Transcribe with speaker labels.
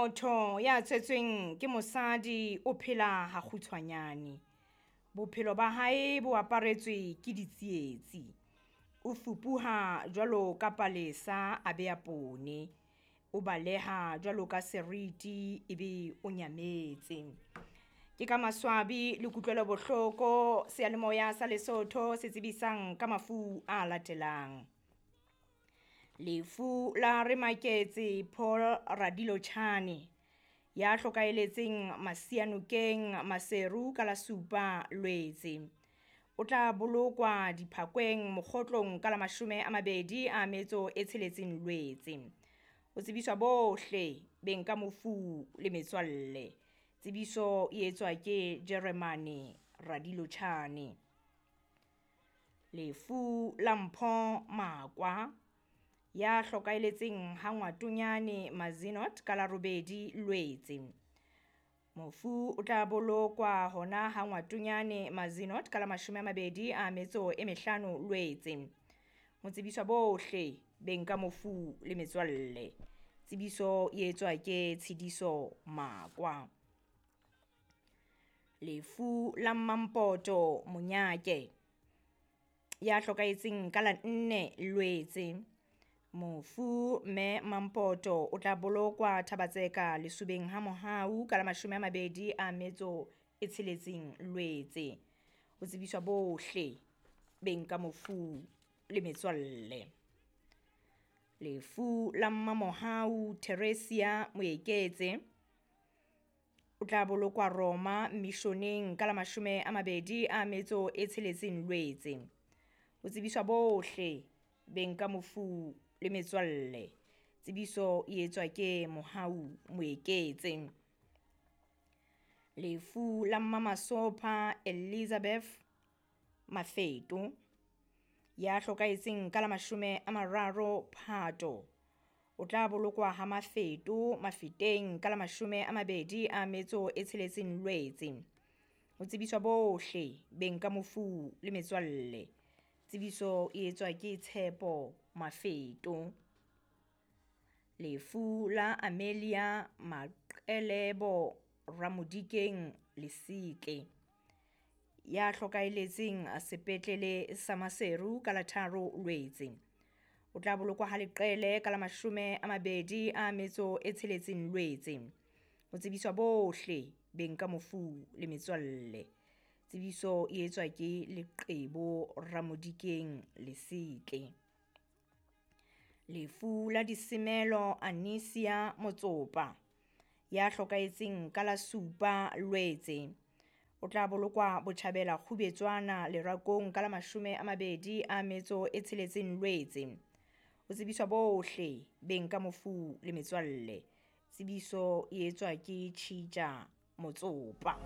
Speaker 1: Motho ya tswetsweng ke mosadi o phela hakgutshwanyane. Bophelo ba hae bo aparetswe ke ditsietsi. O fupuha jwalo ka palesa a be a pone. O baleha jwalo ka seriti ebe o nyametse. Ke ka maswabi le kutlwelo bohloko seyalemoya sa Lesotho se tsebisang ka mafu a latelang. Lefu la Remaketse Paul Radilotjhane ya hlokaheletseng Masianokeng Maseru ka la 7 Lwetse. O tla bolokwa Diphakweng Mokgotlong ka la 26 Lwetse. Ho tsebiswa bohle beng ka mofu le metswalle. Tsebiso e etswa ke Jeremane Radilotjhane. Lefu la Mpho Makwa ya hlokaheletseng ha Ngwatonyane Mazenod ka la 8 Lwetse. Mofu o tla bolokwa hona ha Ngwatonyane Mazenod ka la 25 Lwetse. Ho tsebiswa bohle beng ka mofu le metswalle. Tsebiso e etswa ke Tshidiso Makwa. Lefu la Mampoto Monyake ya hlokahetseng ka la 4 Lwetse. Mofu mme Mampoto o tla bolokwa Thabatseka lesobeng ha Mohau ka la 26 Lwetse. Ho tsebiswa bohle beng ka mofu le metswalle. Lefu la Mmamohau Theresia Moeketse o tla bolokwa Roma Missioneng ka la 26 Lwetse. Ho tsebiswa bohle beng ka mofu le metswalle. Tsebiso e etswa ke Mohau Moeketse. Lefu la Mmamasopha Elizabeth Mafeto ya hlokahetseng ka la 30 Phato. O tla bolokwa ha Mafeto Mafeteng ka la 26 Lwetse. Ho tsebiswa bohle beng ka mofu le metswalle. Tsebiso e etswa ke Tshepo Mafeto. Lefu la Amelia Maqelebo Ramodikeng Lesitle ya hlokaheletseng sepetlele sa Maseru ka la 3 Lwetse. O tla bolokwa ha Leqele ka la 26 Lwetse. Ho tsebiswa bohle beng ka mofu le metswalle. Tsebiso e etswa ke Leqebo Ramodikeng Lesitle. Lefu la Disemelo Anisia Motsopa ya hlokahetseng ka la 7 Lwetse. O tla bolokwa Botjhabela Kgubetswana Lerakong ka la 26 Lwetse. Ho tsebiswa bohle beng ka mofu le metswalle. Tsebiso e etswa ke Tjhitja Motsopa.